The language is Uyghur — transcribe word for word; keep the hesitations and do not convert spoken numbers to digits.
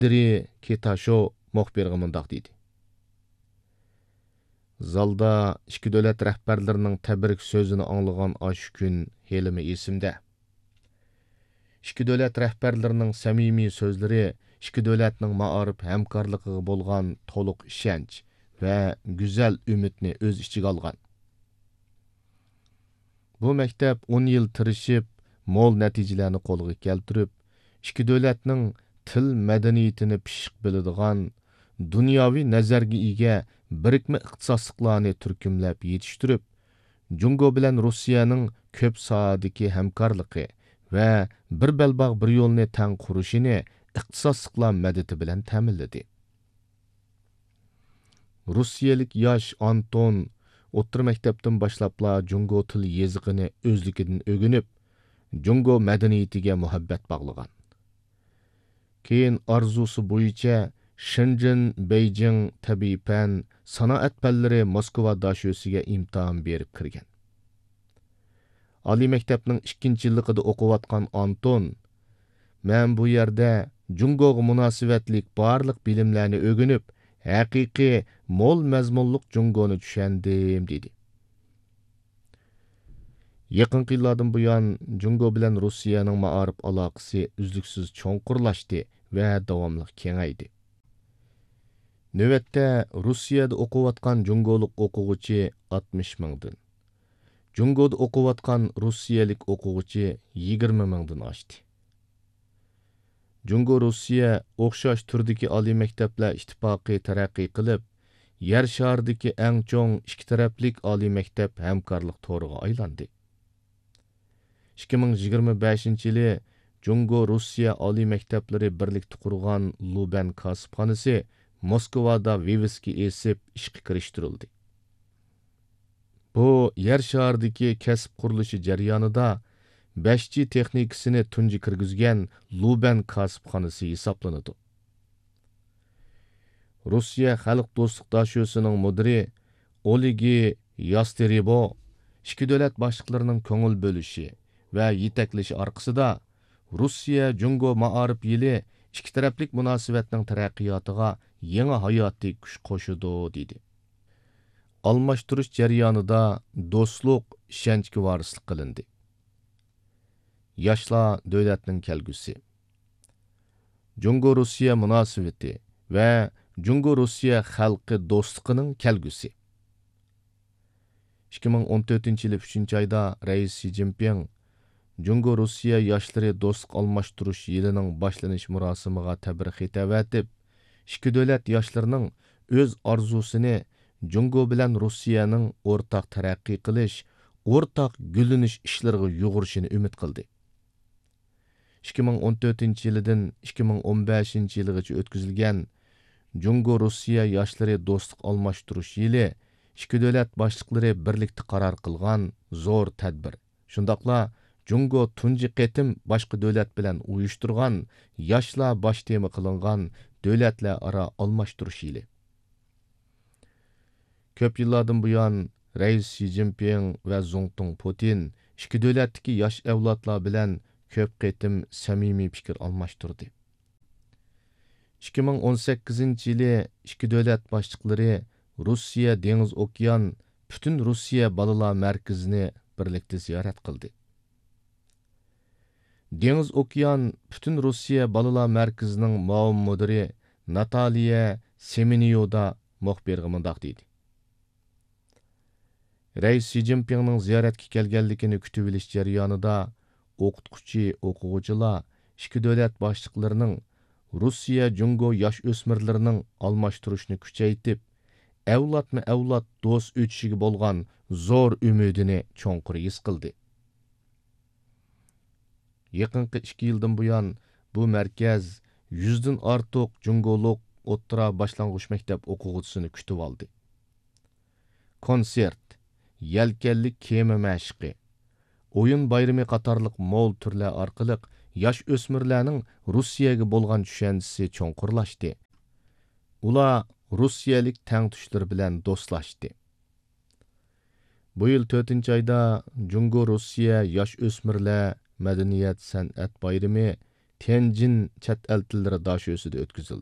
ئىتتىرى كىتاشو مۇخبىرغا مۇنداق دېدى: زالدا ئىككى دۆلەت رەھبەرلىرىنىڭ تەبرىك سۆزىنى ئاڭلىغان ئاشۇ كۈن ھېلىمۇ ئېسىمدە. ئىككى دۆلەت رەھبەرلىرىنىڭ سەمىمىي سۆزلىرى ئىككى دۆلەتنىڭ مائارىپ ھەمكارلىقىغا بولغان تولۇق ئىشەنچ ۋە گۈزەل ئۈمىدنى ئۆز ئىچىگە ئالغان. بۇ مەكتەپ ئون يىل تىرىشىپ، مول نەتىجىلەرنى قولغا كەلتۈرۈپ، ئىككى دۆلەتنىڭ تىل مەدەنىيىتىنى پىششىق بىلىدىغان، دۇنياۋى نەزەرگە ئىگە بىرىكمە ئىختىساسلىقلارنى تۈركۈملەپ يېتىشتۈرۈپ، جۇڭگو بىلەن روسىيەنىڭ كۆپ ساھەدىكى ھەمكارلىقى ۋە بىر بەلباغ بىر يولنى تەڭ قۇرۇشىنى ئىختىساسلىقلار مەدىتى بىلەن تەمىنلىدى. روسىيەلىك ياش ئانتون ئوتتۇرا مەكتەپتىن باشلاپلا جۇڭگو تىل يېزىقىنى ئۆزلۈكىدىن ئۆگىنىپ، جۇڭگو مەدەنىيىتىگە مۇھەببەت باغلىغان. كېيىن ئارزۇسى بويىچە شېنجېن، بېيجىڭ تەبىئىي پەن، سانائەت پەنلىرى موسكۋا داشۆسىگە ئىمتىھان بېرىپ كىرگەن. ئالىي مەكتەپنىڭ ئىككىنچى يىللىقىدا ئوقۇۋاتقان ئانتون، مەن بۇ يەردە جۇڭگوغا مۇناسىۋەتلىك بارلىق بىلىملەرنى ئۆگىنىپ، ھەقىقىي مول مەزمۇنلۇق جۇڭگونى چۈشەندىم، دېدى. يېقىنقى يىللاردىن بۇيان، جۇڭگو بىلەن روسىيەنىڭ مائارىپ ئالاقىسى ئۈزلۈكسىز چوڭقۇرلاشتى ۋە داۋاملىق كېڭەيدى. نۆۋەتتە روسىيەدە ئوقۇۋاتقان جۇڭگولۇق ئوقۇغۇچى ئاتمىش مىڭدىن، جۇڭگودا ئوقۇۋاتقان روسىيەلىك ئوقۇغۇچى يىگىرمە مىڭدىن ئاشتى. جۇڭگو روسىيە ئوخشاش تۈردىكى ئالىي مەكتەپلەر ئىتتىپاقى تەرەققىي قىلىپ، يەر شارىدىكى ئەڭ چوڭ ئىككى تەرەپلىك ئالىي مەكتەپ ھەمكارلىق تورىغا ئايلاندى. ئىككى مىڭ يىگىرمە بەشىنچى يىلى جۇڭگو روسىيە ئالىي مەكتەپلىرى بىرلىكتە قۇرغان لۇبەن كاسىپخانىسى موسكۋادا ۋىۋىسكا ئېسىپ ئىشقا كىرىشتۈرۈلدى. بۇ يەر شارىدىكى كەسىپ قۇرۇلۇشى جەريانىدا بەش جى تېخنىكىسىنى تۇنجى كىرگۈزگەن لۇبەن كاسىپخانىسى ھېسابلىنىدۇ. روسىيە خەلق دوستلۇق داشۆسىنىڭ مۇدىرى ئولېگى ياستېرېبو ئىككى دۆلەت باشلىقلىرىنىڭ كۆڭۈل بۆلۈشى ۋە يېتەكلىشى ئارقىسىدا، روسىيە جۇڭگو مائارىپ يىلى ئىككى تەرەپلىك مۇناسىۋەتنىڭ تەرەققىياتىغا يېڭى ھاياتىي كۈچ قوشىدۇ، دېدى. ئالماشتۇرۇش جەريانىدا دوستلۇق، ئىشەنچكە ۋارىسلىق قىلىندى. ياشلار دۆلەتنىڭ كەلگۈسى. جۇڭگو روسىيە مۇناسىۋىتى ۋە جۇڭگو روسىيە خەلقى دوستلۇقىنىڭ كەلگۈسى. ئىككى مىڭ ئون تۆتىنچى يىلى ئۈچىنچى ئايدا رەئىس شى جىنپىڭ جۇڭگو روسىيە ياشلىرى دوستلۇق ئالماشتۇرۇش يىلىنىڭ باشلىنىش مۇراسىمىغا تەبرىك خېتى ئەۋەتىپ، ئىككى دۆلەت ياشلىرىنىڭ ئۆز ئارزۇسىنى جۇڭگو بىلەن روسىيەنىڭ ئورتاق تەرەققىي قىلىش، ئورتاق گۈللىنىش ئىشلىرىغا يۇغۇرۇشىنى ئۈمىد قىلدى. ئىككى مىڭ ئون تۆتىنچى يىلىدىن ئىككى مىڭ ئون بەشىنچى يىلىغىچە ئۆتكۈزۈلگەن جۇڭگو روسىيە ياشلىرى دوستلۇق ئالماشتۇرۇش يىلى ئىككى دۆلەت باشلىقلىرى بىرلىكتە قارار قىلغان زور تەدبىر، شۇنداقلا جۇڭگو تۇنجى قېتىم باشقا دۆلەت بىلەن ئۇيۇشتۇرغان ياشلار باش تېما قىلىنغان دۆلەتلەر ئارا ئالماشتۇرۇش يىلى. كۆپ يىللاردىن بۇيان، رەئىس شى جىنپىڭ ۋە زۇڭتۇڭ پۇتىن ئىككى دۆلەتتىكى ياش ئەۋلادلار بىلەن كۆپ قېتىم سەمىمىي پىكىر ئالماشتۇردى. ئىككى مىڭ ئون سەككىزىنچى يىلى ئىككى دۆلەت باشلىقلىرى روسىيە دېڭىز ئوكيان پۈتۈن روسىيە بالىلار مەركىزىنى بىرلىكتە زىيارەت قىلدى. دېڭىز ئوكيان پۈتۈن روسىيە بالىلار مەركىزىنىڭ مۇئاۋىن مۇدىرى ناتالىيە سېمېنيودا مۇخبىرغا مۇنداق دېدى: رەئىس شى جىنپىڭنىڭ زىيارەتكە كەلگەنلىكىنى كۈتۈۋېلىش جەريانىدا، ئوقۇتقۇچى، ئوقۇغۇچىلار ئىككى دۆلەت باشلىقلىرىنىڭ روسىيە جۇڭگو ياش ئۆسمۈرلىرىنىڭ ئالماشتۇرۇشنى كۈچەيتىپ، ئەۋلادمۇ ئەۋلاد دوست ئۆتۈشىگە بولغان زور ئۈمىدىنى چوڭقۇر ھېس قىلدى. يېقىنقى ئىككى يىلدىن بۇيان، بۇ مەركەز يۈزدىن ئارتۇق جۇڭگولۇق ئوتتۇرا، باشلانغۇچ مەكتەپ ئوقۇغۇچىسىنى كۈتۈۋالدى. كونسېرت، يەلكەنلىك كېمە مەشىقى، ئويۇن بايرىمى قاتارلىق مول تۈرلەر ئارقىلىق ياش ئۆسمۈرلەرنىڭ روسىيەگە بولغان چۈشەنچىسى چوڭقۇرلاشتى. ئۇلار روسىيەلىك تەڭتۇشلىرى بىلەن دوستلاشتى. بۇ يىل تۆتىنچى ئايدا جۇڭگو روسىيە ياش ئۆسمۈرلەر مەدەنىيەت سەنئەت بايرىمى تيەنجىن چەت ئەل تىللىرى داشۆسىدە ئۆتكۈزۈلدى.